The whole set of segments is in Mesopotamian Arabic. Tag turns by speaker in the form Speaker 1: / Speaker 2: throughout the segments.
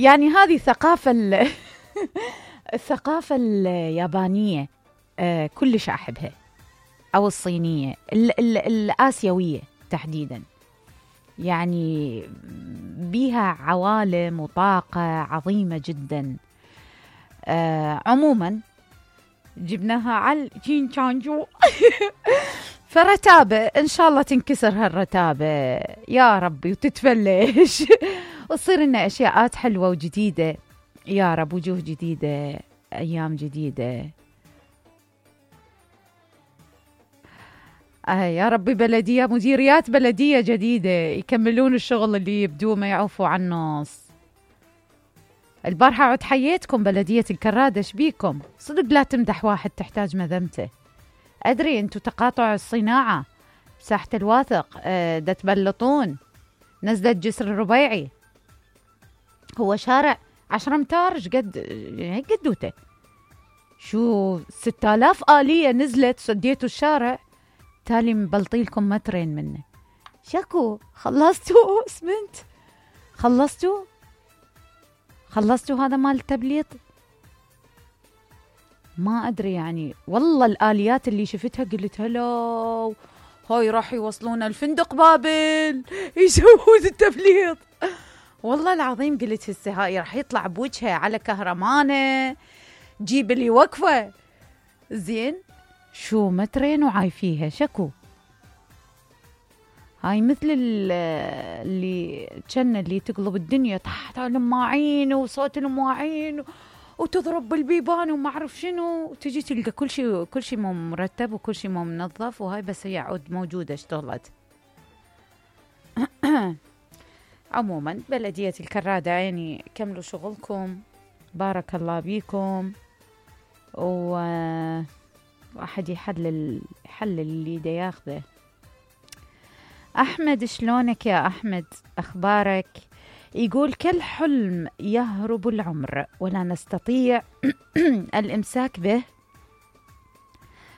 Speaker 1: يعني هذه الثقافة اليابانية كلش أحبها، أو الصينية الآسيوية تحديدا، يعني بيها عوالم وطاقة عظيمة جدا. عموما جبناها على جين تشانجو فرتابة إن شاء الله تنكسر هالرتابة يا ربي وتتفلش وتصير لنا أشياءات حلوة وجديدة يا رب، وجوه جديدة، أيام جديدة. يا ربي بلدية، مديريات بلدية جديدة يكملون الشغل اللي يبدوه ما يعوفوا عن النص. البارحة عد حييتكم بلدية الكرادة، شبيكم صدق لا تمدح واحد تحتاج مذمته. أدري أنتوا تقاطع الصناعة، ساحة الواثق، دا تبلطون، نزلة جسر الربيعي، هو شارع 10 أمتار قد قدوته، شو 6000 آلية نزلت سديتوا الشارع، تالي مبلطيلكم مترين منه. شكو خلصتوا اسمنت؟ خلصتوا هذا مال التبليط؟ ما أدري يعني، والله الآليات اللي شفتها قلت هلو هاي راح يوصلون الفندق بابل يسوون التبليط. والله العظيم قلت هسه هاي راح يطلع بوجهها على كهرمانة جيب لي وقفة زين، شو مترين وعايفيها. شكو هاي مثل اللي تقلب الدنيا تحت المواعين وصوت المواعين وتضرب بالبيبان وما اعرف شنو، وتجي تلقى كل شيء مو مرتب وكل شيء مو منظف، وهاي بس هي عود موجودة اشتغلت. عموما بلدية الكرادة عيني كملوا شغلكم، بارك الله بيكم، واحد يحلل اللي دا ياخذه. أحمد شلونك يا أحمد، أخبارك؟ يقول كل حلم يهرب العمر ولا نستطيع الإمساك به،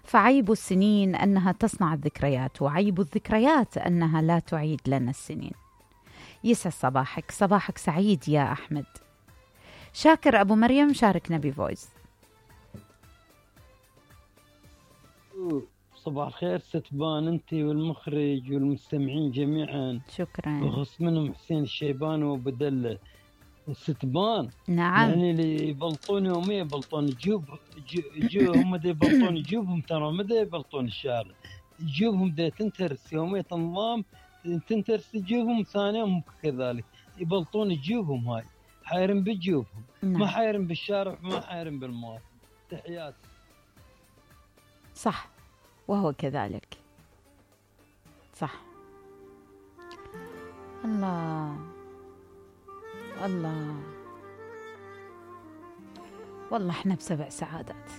Speaker 1: فعيب السنين أنها تصنع الذكريات، وعيب الذكريات أنها لا تعيد لنا السنين. يسعد صباحك سعيد يا أحمد. شاكر أبو مريم شاركنا بفويس.
Speaker 2: صباح الخير ستبان انت والمخرج والمستمعين جميعا.
Speaker 1: شكرا.
Speaker 2: وخص منهم حسين الشيبان وبدل ستبان.
Speaker 1: نعم.
Speaker 2: يعني اللي يبلطون يوميا يبلطون هم دا يبلطون جيوبهم، ترى ما دا يبلطون الشارع، جيوبهم دا تنترس يوميا نظام، تنترس جيوبهم، ثانيهم كذلك يبلطون جيوبهم، هاي حايرين بجيوبهم. نعم. ما حايرين بالشارع، ما حايرين بالمواطن. تحياتي.
Speaker 1: صح، وهو كذلك. صح. الله والله احنا بسبع سعادات.